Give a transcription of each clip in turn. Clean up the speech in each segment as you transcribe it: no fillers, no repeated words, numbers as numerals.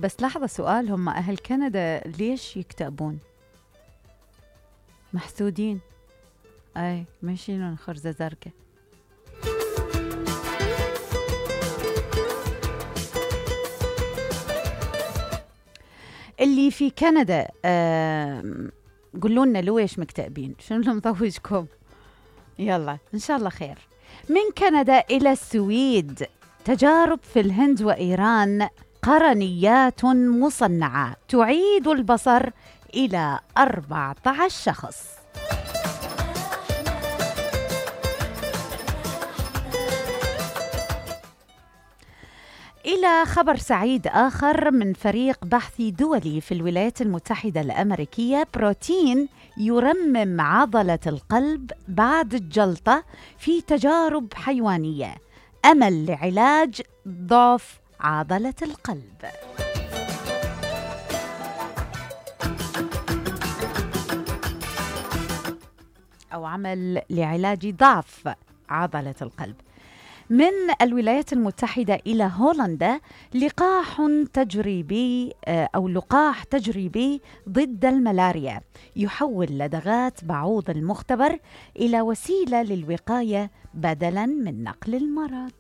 بس لحظة، سؤال، هم أهل كندا ليش يكتئبون؟ محسودين. أي ماشيين خرزة زرقاء. اللي في كندا قولوا لنا ليش مكتئبين، شنو اللي مضوجكم؟ يلا إن شاء الله خير. من كندا إلى السويد، تجارب في الهند وإيران، قرنيات مصنعة تعيد البصر إلى 14 شخص. إلى خبر سعيد آخر من فريق بحثي دولي في الولايات المتحدة الأمريكية، بروتين يرمم عضلة القلب بعد الجلطة في تجارب حيوانية، أمل لعلاج ضعف عضلة القلب. أو عمل لعلاج ضعف عضلة القلب. من الولايات المتحدة إلى هولندا، لقاح تجريبي ضد الملاريا يحول لدغات بعوض المختبر إلى وسيلة للوقاية بدلاً من نقل المرض.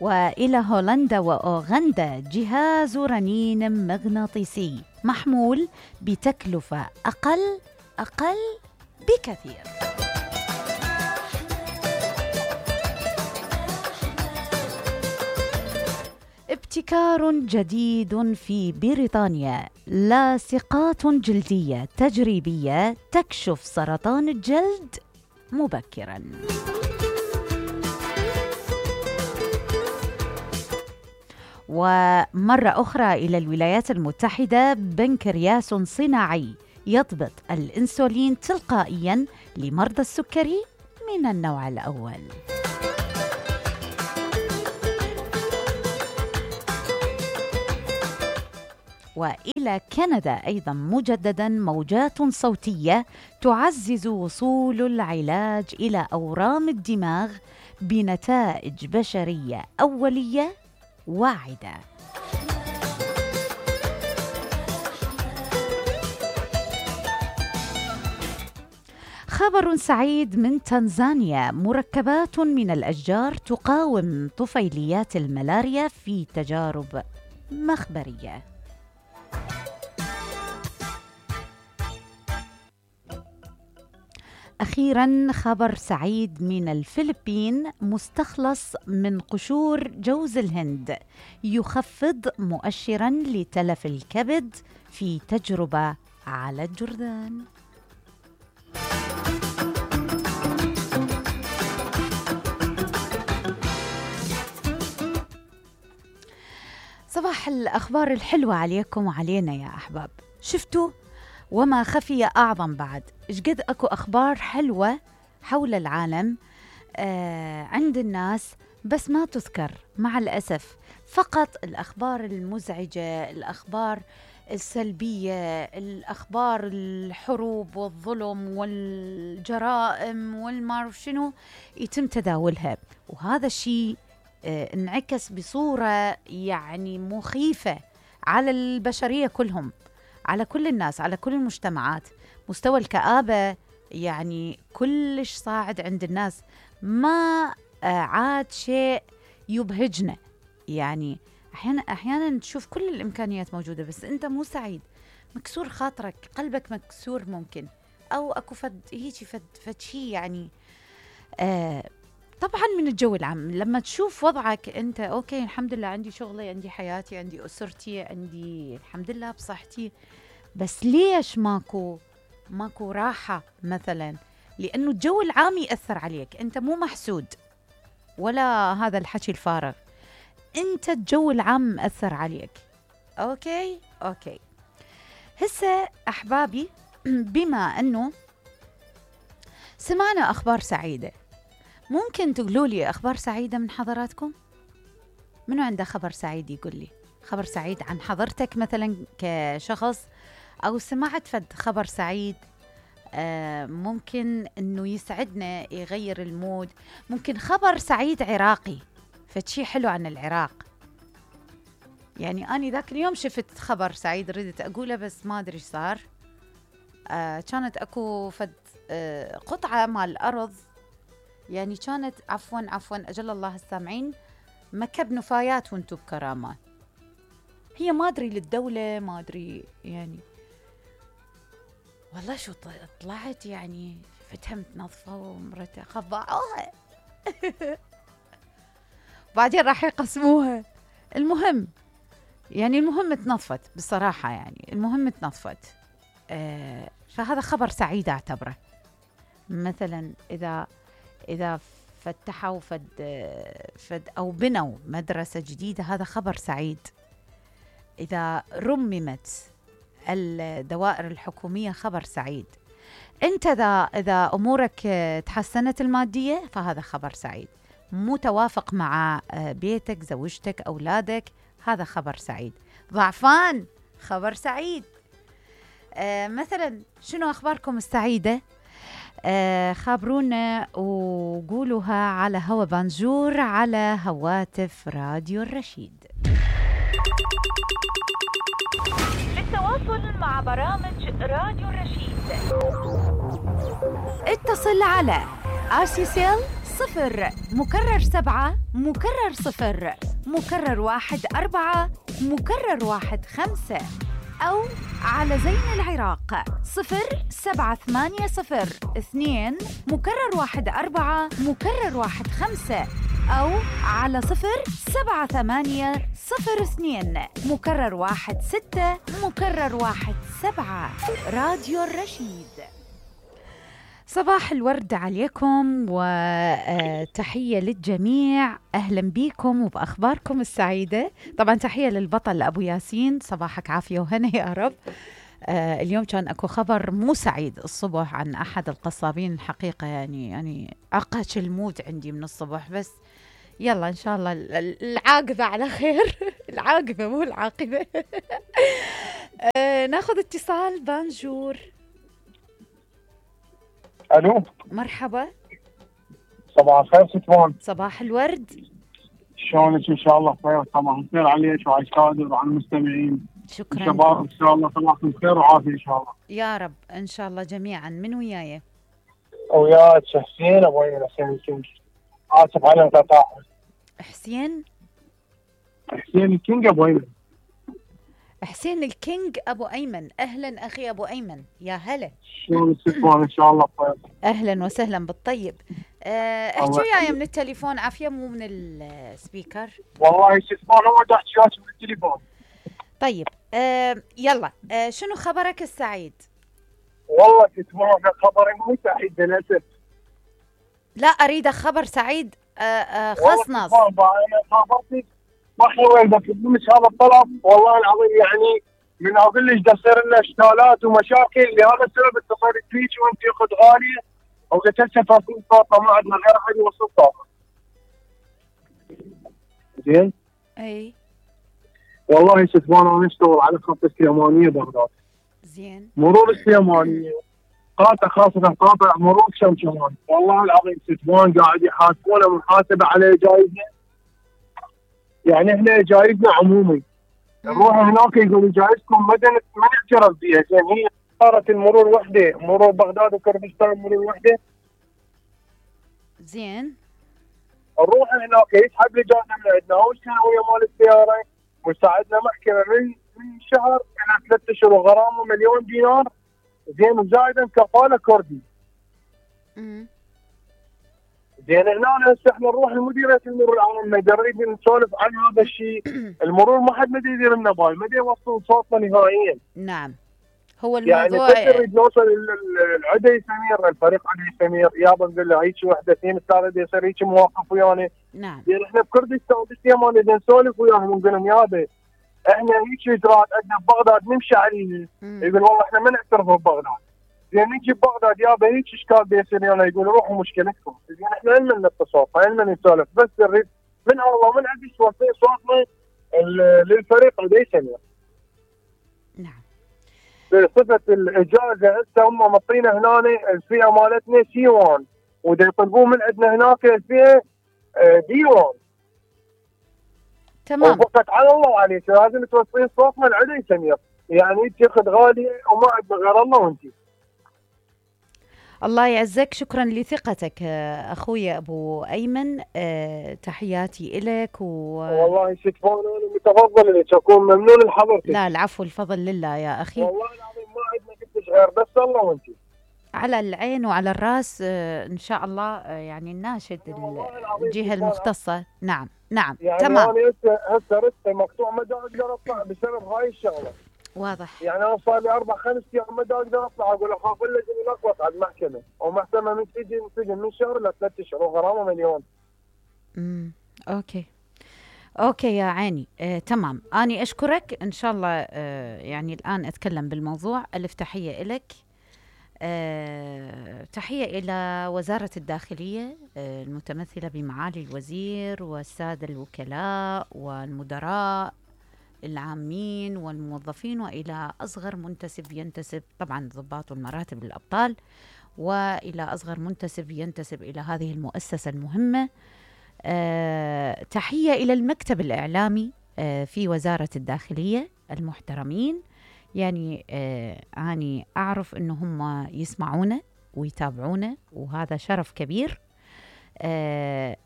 وإلى هولندا وأوغندا، جهاز رنين مغناطيسي محمول بتكلفة أقل بكثير. ابتكار جديد في بريطانيا، لاصقات جلدية تجريبية تكشف سرطان الجلد مبكراً. ومرة أخرى إلى الولايات المتحدة، بنكرياس صناعي يضبط الإنسولين تلقائياً لمرضى السكري من النوع الأول. وإلى كندا أيضاً مجدداً، موجات صوتية تعزز وصول العلاج إلى أورام الدماغ بنتائج بشرية أولية واعدة. خبر سعيد من تنزانيا، مركبات من الأشجار تقاوم طفيليات الملاريا في تجارب مخبرية. أخيراً خبر سعيد من الفلبين، مستخلص من قشور جوز الهند يخفض مؤشراً لتلف الكبد في تجربة على الجرذان. صباح الأخبار الحلوة عليكم وعلينا يا أحباب. شفتوا وما خفي أعظم بعد، إيش قد أكو أخبار حلوة حول العالم عند الناس، بس ما تذكر مع الأسف. فقط الأخبار المزعجة، الأخبار السلبية، الأخبار الحروب والظلم والجرائم والمعرف شنو يتم تداولها، وهذا الشيء انعكس بصورة يعني مخيفة على البشرية كلهم، على كل الناس، على كل المجتمعات. مستوى الكآبة يعني كلش صاعد عند الناس، ما عاد شيء يبهجنا. يعني أحيانا تشوف كل الإمكانيات موجودة بس أنت مو سعيد، مكسور خاطرك، قلبك مكسور ممكن، أو أكو فد شيء يعني. طبعا من الجو العام لما تشوف وضعك أنت أوكي الحمد لله، عندي شغلي، عندي حياتي، عندي أسرتي، عندي الحمد لله بصحتي، بس ليش ماكو راحة مثلا؟ لأنه الجو العام يأثر عليك، أنت مو محسود ولا هذا الحكي الفارغ، أنت الجو العام مأثر عليك. أوكي هسه أحبابي، بما أنه سمعنا أخبار سعيدة، ممكن تقولوا لي أخبار سعيدة من حضراتكم؟ منو عنده خبر سعيد يقول لي خبر سعيد عن حضرتك مثلا كشخص، أو سمعت فد خبر سعيد ممكن انه يسعدنا يغير المود. ممكن خبر سعيد عراقي، فشي حلو عن العراق. يعني أنا ذاك اليوم شفت خبر سعيد ردت أقوله بس ما أدري إيش صار. كانت أكو فد قطعة مال الأرض، يعني كانت عفوا أجل الله السامعين، مكب نفايات وانتو بكرامة. هي ما أدري للدولة، ما أدري يعني والله شو طلعت يعني فتها متنظفة ومرتها خبعوها بعدين راح يقسموها. المهم تنظفت بصراحة، يعني المهم تنظفت. فهذا خبر سعيد أعتبره. مثلا إذا فتحوا فد أو بنوا مدرسة جديدة، هذا خبر سعيد. إذا رممت الدوائر الحكومية، خبر سعيد. أنت إذا أمورك تحسنت المادية، فهذا خبر سعيد. مو توافق مع بيتك، زوجتك، أولادك، هذا خبر سعيد. ضعفان، خبر سعيد. مثلا شنو أخباركم السعيدة؟ خابرونا وقولوها على هوا بانجور على هواتف راديو الرشيد. للتواصل مع برامج راديو الرشيد اتصل على RCCL 0 مكرر 7 مكرر 0 مكرر 1 4 مكرر 1 5، أو على زين العراق 07802 مكرر 1 4 مكرر 1 5، أو على 07802 مكرر 1 6 مكرر 1 7. راديو الرشيد. صباح الورد عليكم وتحية للجميع. أهلا بكم وبأخباركم السعيدة. طبعا تحية للبطل أبو ياسين، صباحك عافية وهنا يا رب. اليوم كان أكو خبر مو سعيد الصبح عن أحد القصابين. الحقيقة يعني عقش الموت عندي من الصبح، بس يلا إن شاء الله العاقبة على خير. العاقبة مو العاقبة. ناخذ اتصال. بانجور. الو، مرحبا. صباح الخير ستوان. صباح الورد. شلونك؟ ان شاء الله بخير. صباح الخير عليك وعلى الكادر وعلى المستمعين. شكرا. شباب ان شاء الله صباحكم خير وعافيه ان شاء الله. يا رب ان شاء الله جميعا. من وياي؟ وياك حسين ابو ايمن. حسين الكينج. اسف على القطاع. حسين الكينج ابو ايمن. حسين الكينج ابو ايمن. اهلا اخي ابو ايمن، يا هلا. شلونك ستوان؟ ان شاء الله بخير. اهلا وسهلا بالطيب. احكي وياي من التليفون عافيه، مو من السبيكر. والله ستوان هو دا احكي وياك من التليفون. طيب يلا. شنو خبرك السعيد؟ والله ستوان خبري مو سعيد للاسف. لا اريد خبر سعيد. خصنص. انا خبرتك ما حلوين بس منك هذا الطلب. والله العظيم يعني من اقول لك تصير لنا اشكالات ومشاكل لهذا السبب اتصلت فيك وانت اخت غاليه وقلت هسه فاصلين طاقه ما عندنا غير احد يوصل طاقه. زين؟ اي والله ستوان انا اشتغل على خط السليمانيه بغداد. زين. مرور السليمانيه قاطع، خاصه قاطع مرور شمشمان. والله العظيم ستوان قاعد يحاسبونا محاسبه على جايزنا. يعني احنا جايزنا عمومي، نروح هناك يقولوا جايزكم ما نعترف بها. زين هي صارت المرور وحده، مرور بغداد وكردستان مرور وحده. زين. نروح هناك يسحب لي جايزه من عندنا، وش كان ويا مال السياره وساعدنا محكمه من شهر الى 3 اشهر وغرامه $1,000,000 دينار. زين وزايدا كفاله كردي. زين هنا هسه احنا نروح لمديريه المرور العام نريد نسولف عن هذا الشيء. المرور ما حد مدري يدير لنا بال، ما يدري يوصل صوتنا نهائيا. نعم هو الموضوع يعني نريد نوصل العدي سمير، الفريق عدي سمير، يابا نقول له هيك وحده اثنين ثلاثه يصير هيك مواقف ويانا. نعم. يعني احنا بكردستان بالسيمان نريد نسولف وياهم ونقول لهم يابا احنا هيك اجراءات عندنا ببغداد نمشي عليها. يقول والله احنا ما نعترف ببغداد. زين نجي ببغداد يابا هيك اشكال بيصير لنا، يقولوا روحوا مشكلتكم. زين احنا علما نتصل، علما نسولف، بس نريد من الله من عندي توصل صوتنا للفريق عدي سمير. نعم. بصفه الاجازه هسه هم مطينا هنا الفئه مالتنا سي 1 ودا يطلبون من عندنا هناك الفئه دي 1. تمام. وفقط على الله عليك لازم توصلين صوتنا لعلي سمير، يعني انت اخت غاليه وما عندنا غير الله وانت. الله يعزك، شكرا لثقتك أخوي أبو أيمن. تحياتي إلك والله شكرا، أنا متفضل لك، أكون ممنون لحضرتك. لا العفو، الفضل لله يا أخي. والله العظيم ما عندنا كلش غير بس الله وانت. على العين وعلى الراس إن شاء الله. يعني نناشد الجهة المختصة. نعم نعم يعني تمام. أنا هسه رسته مقطوع، ما أقدر أطلع بسبب هاي الشغلة. واضح. يعني أنا صار لي 4-5 أيام ما أقدر أطلع، أقول أخاف اللجنة يلخبط على المحكمة، ومحكمة من سجن من شهر ل 3 أشهر وغرامة مليون. اوكي يا عيني. تمام، اني اشكرك ان شاء الله. يعني الان اتكلم بالموضوع. الف تحيه لك. تحيه الى وزاره الداخليه المتمثله بمعالي الوزير والساده الوكلاء والمدراء العامين والموظفين، والى اصغر منتسب ينتسب، طبعا ضباط والمراتب الابطال، والى اصغر منتسب ينتسب الى هذه المؤسسه المهمه. تحية إلى المكتب الإعلامي في وزارة الداخلية المحترمين. يعني أنا أعرف أنه هم يسمعونا ويتابعونا، وهذا شرف كبير.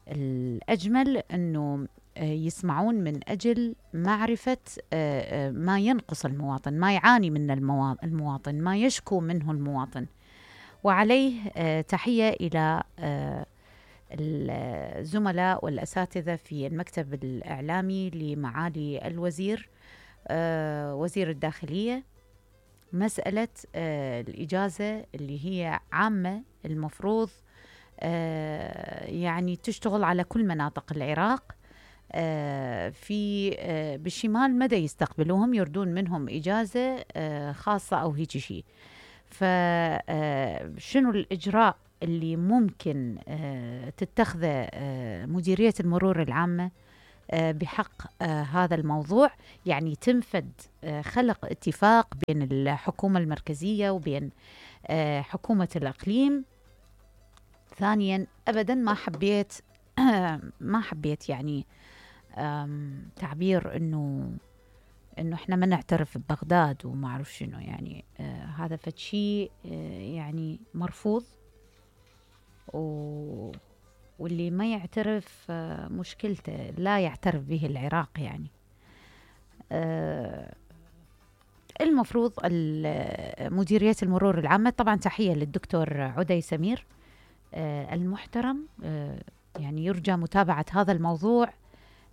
الأجمل أنه يسمعون من أجل معرفة ما ينقص المواطن، ما يعاني من المواطن، ما يشكو منه المواطن. وعليه تحية إلى الزملاء والأساتذة في المكتب الإعلامي لمعالي الوزير وزير الداخلية. مسألة الإجازة اللي هي عامة، المفروض يعني تشتغل على كل مناطق العراق. في بالشمال مدى يستقبلوهم، يردون منهم إجازة خاصة أو هيك شيء. فشنو الإجراء اللي ممكن تتخذه مديرية المرور العامة بحق هذا الموضوع؟ يعني تنفذ خلق اتفاق بين الحكومة المركزية وبين حكومة الإقليم. ثانيا، أبدا ما حبيت يعني تعبير إنه احنا ما نعترف ببغداد وما اعرف شنو. يعني هذا فد شيء يعني مرفوض، واللي ما يعترف مشكلته، لا يعترف به العراق. يعني المفروض مديرية المرور العامة، طبعا تحية للدكتور عدي سمير المحترم. يعني يرجى متابعة هذا الموضوع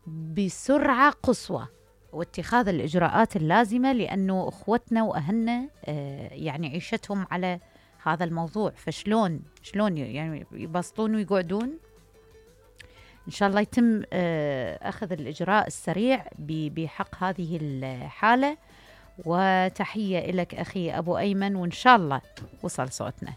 بسرعة قصوى واتخاذ الإجراءات اللازمة، لأنه أخوتنا وأهلنا يعني عيشتهم على هذا الموضوع. فشلون يعني يبسطون ويقعدون؟ إن شاء الله يتم أخذ الإجراء السريع بحق هذه الحالة. وتحية لك أخي أبو أيمن، وإن شاء الله وصل صوتنا.